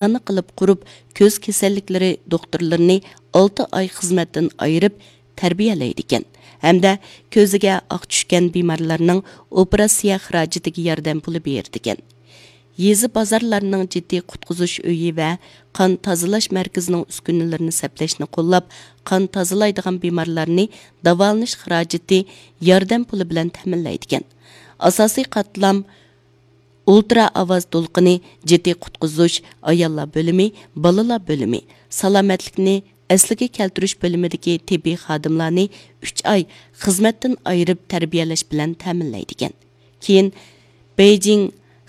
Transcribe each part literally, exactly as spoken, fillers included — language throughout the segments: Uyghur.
ئاستانە قىلىپ قۇرۇپ، كۆز كېسەللىكلىرى دوختۇرلىرىنى ئالتە ئاي خىزمەتتىن ئايرىپ تەربىيەلەيدىكەن ھەمدە كۆزىگە ئاق چۈشكەن بىمارلارنىڭ ئوپېراتسىيە خىراجىتىگە ياردەم پۇلى بېرىدىكەن. يېزا، بازارلارنىڭ جىددىي قۇتقۇزۇش ئۆيى ۋە قان تازىلاش مەركىزىنىڭ ئۈسكۈنىلىرىنى سەپلەشنى قوللاپ، قان تازىلايدىغان بىمارلارنى داۋالىنىش خىراجىتى ياردەم پۇلى بىلەن تەمىنلەيدىكەن. ئاساسىي قاتلام ئۇلترا ئاۋاز دولقۇنى جىددىي قۇتقۇزۇش، ئاياللار بۆلۈمى، بالىلار بۆلۈمى، سالامەتلىكنى ئەسلىگە كەلتۈرۈش بۆلۈمىدىكى تېببىي خادىملارنى ئۈچ ئاي خىزمەتتىن ئايرىپ تەربىيەلەش بىلەن تەمىنلەيدىكەن. كېيىن بېيجىڭ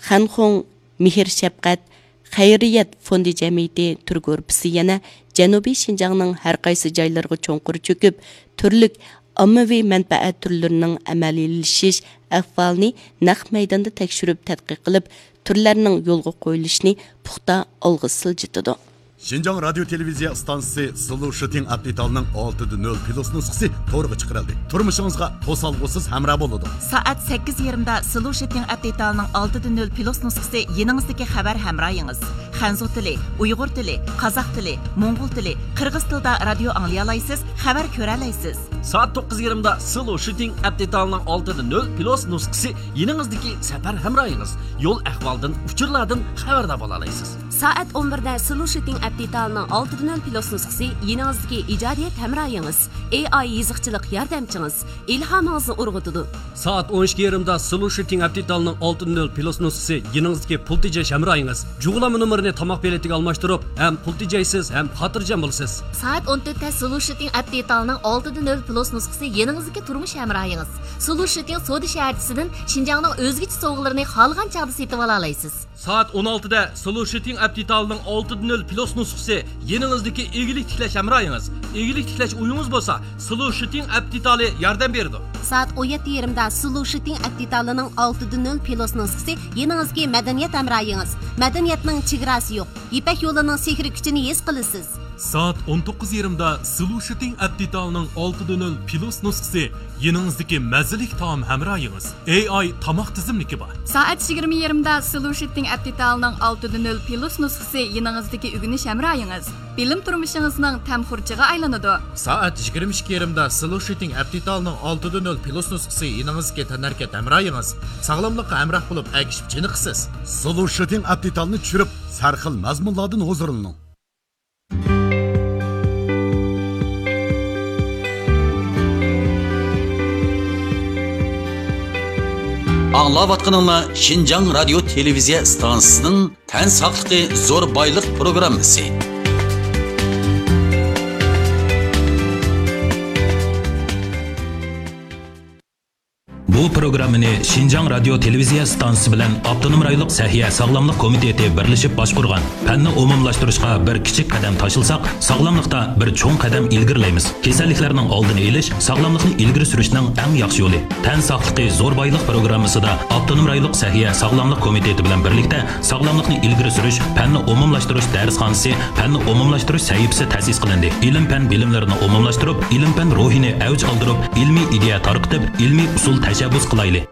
خەنخۇڭ مېھىر شەپقەت خەيرىيەت فوندى جەمئىيىتى تۈر گۇرۇپپىسى يەنە جەنۇبىي شىنجاڭنىڭ ھەر قايسى جايلىرىغا چوڭقۇر چۆكۈپ، تۈرلۈك ئاممىۋى مەنپەئەت تۈرلىرىنىڭ ئەمەلىيلىشىش ئەھۋالىنى نەق مەيداندا تەكشۈرۈپ تەتقىق قىلىپ، تۈرلەرنىڭ يولغا قويۇلۇشىنى پۇختا ئالغا سىلجىتىدۇ. شىنجاڭ رادىيو تېلېۋىزىيە ئىستانسىسى سلوشىتىڭ ئەپ دېتالىنىڭ ئالتە دە نۆل پلۇس نۇسخىسى تورغا چىقىرىلدى. تۇرمۇشىڭىزغا توسالغۇسىز ھەمراھ بولىدۇ. سائەت سەككىز يېرىمدا سلوشىتىڭ ئەپ دېتالىنىڭ ئالتە دە نۆل پلۇس نۇسخىسى يېنىڭىزدىكى خەۋەر ھەمراھىڭىز. خەنزۇ تىلى، ئۇيغۇر تىلى، قازاق تىلى، موڭغۇل تىلى، قىرغىز تىلىدا رادىيو ئاڭلىيالايسىز، خەۋەر كۆرەلەيسىز. سائەت توققۇز يېرىمدا سلوشىتىڭ ئەپ دېتالىنىڭ ئالتە دە نۆل پلۇس نۇسخىسى يېنىڭىزدىكى سەپەر ھەمراھىڭىز. يول ئەھۋالدىن، ئۇچۇرلاردىن خەۋەردار بولالايسىز. سائەت ئون بىردە سلوشىتىڭ ئەپ دېتالىنىڭ ئالتە دە نۆل پلۇس نۇسخىسى يېنىڭىزدىكى ئىجادىيەت ھەمراھىڭىز، ئېي ئاي يېزىقچىلىق ياردەمچىڭىز، ئىلھامىڭىزنى ئۇرغۇتىدۇ. سائەت ئون ئىككى يېرىمدا سلوشىتىڭ ئەپ دېتالىنىڭ ئالتە دە نۆل پلۇس نۇسخىسى يېنىڭىزدىكى پۇل تېجەش ھەمراھىڭىز. جۇغلانما نومۇرىنى تاماق بېلىتىگە ئالماشتۇرۇپ، ھەم پۇل تېجەيسىز، ھەم خاتىرجەم بولىسىز. سائەت ئون تۆتتە سلوشىتىڭ ئەپ دېتالىنىڭ ئالتە دە نۆل پلۇس نۇسخىسى يېنىڭىزدىكى تۇرمۇش ھەمراھىڭىز. سلوشىتىڭ سودا شەھەرچىسىدىن شىنجاڭنىڭ ئۆزگىچە سوۋغىلىرىنى خالىغان چاغدا سېتىۋالالايسىز. سائەت ئون ئالتىدە سلوشىتىڭ ئەپ دېتالىنىڭ ئالتە دە نۆل پلۇس نۇسخىسى يېنىڭىزدىكى ئىگىلىك تىكلەش ھەمراھىڭىز. ئىگىلىك تىكلەش ئويىڭىز بولسا، سلوشىتىڭ ئەپ دېتالى ياردەم بېرىدۇ. سائەت ئون يەتتە يېرىمدا سلوشىتىڭ ئەپ دېتالىنىڭ ئالتە دە نۆل پلۇس نۇسخىسى يېنىڭىزدىكى مەدەنىيەت ھەمراھىڭىز. مەدەنىيەتنىڭ چېگراسى يوق. يىپەك يولىنىڭ سېھرىي كۈچىنى ھېس قىلىسىز. سائەت ئون توققۇز يېرىمدا سلوشىتىڭ ئەپ دېتالىنىڭ ئالتە دە نۆل پلۇس نۇسخىسى يېنىڭىزدىكى مەززىلىك تائام ھەمراھىڭىز. ئېي ئاي تاماق تىزىملىكى بار. سائەت يىگىرمە يېرىمدا سلوشىتىڭ ئەپ دېتالىنىڭ ئالتە دە نۆل پلۇس نۇسخىسى يېنىڭىزدىكى ئۆگىنىش ھەمراھىڭىز. بىلىم تۇرمۇشىڭىزنىڭ تەم خۇرجىنى ئايلىنىدۇ. سائەت يىگىرمە ئىككى يېرىمدا سلوشىتىڭ ئەپ دېتالىنىڭ ئالتە دە نۆل پلۇس نۇسخىسى يېنىڭىزدىكى تەنھەرىكەت ھەمراھىڭىز. ساغلاملىققا ھەمراھ بولۇپ، ئەگىشىپ چېنىقىسىز. سلوشىتىڭ ئەپ دېتالىنى چۈشۈرۈپ، سەرخىل مەزمۇنلاردىن ھۇزۇرلىنىڭ. ئاڭلاۋاتقىنىڭلار شىنجاڭ رادىيو تېلېۋىزىيە ئىستانسىسىنىڭ تەن ساقلىقى زور بايلىق پروگراممىسى. بۇ پروگراممىنى شىنجاڭ رادىيو تېلېۋىزىيە ئىستانسىسى بىلەن ئاپتونوم رايونلۇق سەھىيە ساغلاملىق كومىتېتى بىرلىشىپ باشقۇرغان. پەننى ئومۇملاشتۇرۇشقا بىر كىچىك قەدەم تاشلىساق، ساغلاملىقتا بىر چوڭ قەدەم ئىلگىرىلەيمىز. كېسەللىكلەرنىڭ ئالدىنى ئېلىش ساغلاملىقنى ئىلگىرى سۈرۈشنىڭ ئەڭ ياخشى يولى. تەن ساقلىقى زور بايلىق پروگراممىسىدا ئاپتونوم رايونلۇق سەھىيە ساغلاملىق كومىتېتى بىلەن بىرلىكتە ساغلاملىقنى ئىلگىرى سۈرۈش، پەننى ئومۇملاشتۇرۇش دەرسخانىسى، پەننى ئومۇملاشتۇرۇش سەھىپىسى تەسىس قىلىندى. ئىلىم-پەن بىلىملىرىنى ئومۇملاشتۇرۇپ، ئىلىم-پەن روھىنى ئەۋج ئالدۇرۇپ، ئىلمىي ئىدىيە تارقىتىپ، ئىلمىي ئۇسۇل تەشەببۇس قىلايلى.